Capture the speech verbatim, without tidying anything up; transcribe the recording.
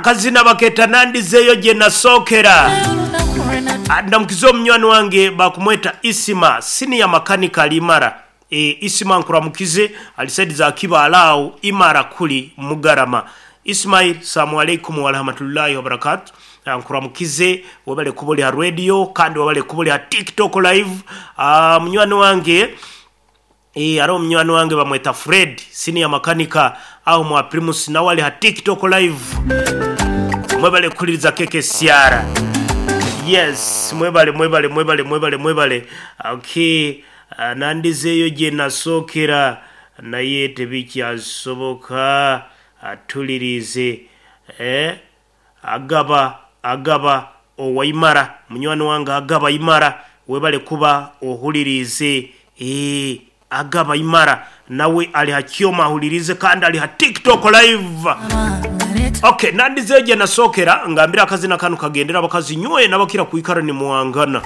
Akazina baketa nandizeeyo gye nasookera. Ndamukiza omunywani wange bakumweta Isima senior makanika ali Imara. E, Isima nkuramukize ali saidi za Kibaale awo Imara kuli Mugarama. Ismail, salamu alaikum warahmatullahi wabarakatu. Nkuramukize webale kuba oli ha radio kandi webale kuba oli ha TikTok live. Ah, munywani wange e, hariho omunywani wange bamweta Fred senior makanika aho mwa Primus nawe ali ha TikTok live. Mwebale kuhuliriza K K C R. Yes, mwebale, mwebale, mwebale, mwebale, mwebale. Okay, uh, nandizeeyo gye nasookera naye tebikyasoboka. Atulirize eh? Agaba, agaba owaimara, munywani wange agaba imara, webale kuba ohulirize. eh, agaba imara nawe ali hakyoma ahulirize kandi ali ha TikTok live. Okay, nandizeeyo gye nasookera ngambira akazina kanu kagendera abakazi nywe n'abakira kwikara ni muwangana.